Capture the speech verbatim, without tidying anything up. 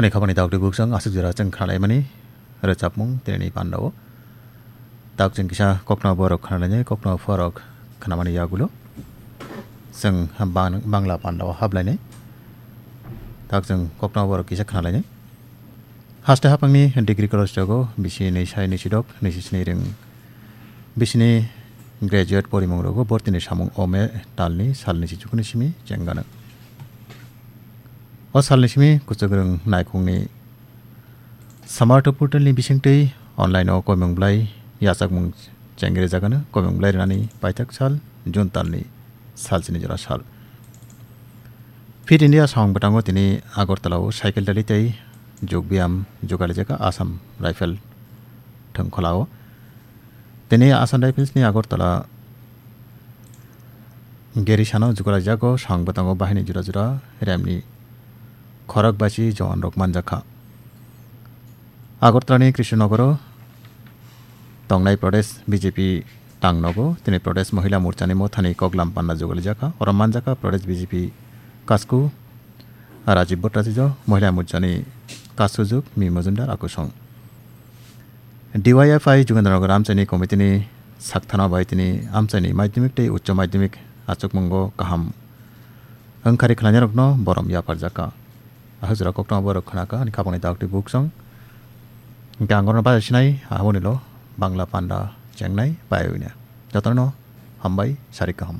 Ani khabani daktwi buksong aswk jora chwng khnalaimani rwchapmung tinini pandao. Tak chwng kisa kokno borok khnalainai, kokno borok khnamani yagulo chwng bang-, Bangla pandao hablainai. Tak chwng kokno borok kisa khnalainai. Haste hapangni degree college rogo bisi nwi sai nwi sidok nwi sisni ring. Bisini graduate porimung rogo bortini samung ome talni salni si chukuni simi chengano. O salni simi kuchukrwng naikhungni Samartha portalni bisingtwi online o koimung blai yachakmung chengrijagano, koimung blai rwnani paithak sal June talni salsini jora sal. Fit India song bwtango tini Agartala o cycle rally tei jog biyam jugalijaka Assam Rifle thwngkholao. Tini Assam Rifles ni Agartala Gerisano jugalaijago, song bwtango bahini jora jora remni khorok bachi jawan rok manjakha. Agartala ni Krishnanogoro tongnai Pradesh B J P tangnogo tini Pradesh Mohila Morcha ni mothani koklam panda jugalijaka. Oro manjakha Pradesh B J P kasku Rajiv Bhattacharya, Mohila Morcha ni kasujwk Mi Majumdar akusong. D Y F I Jugendranagar amchaini committee ni sakthana bai tini amchaini madhyamik tei uccho madhyamik achukmungo kaham wngkhari khlainairokno borom yapharjakha. Ahajora koktwma borok khnakha ani khapangni daktwi buksong. Hingke ang gorno baja sinai, aboni lo Bangla panda chengnai bai wngya. Jotono hambai, sari kaham.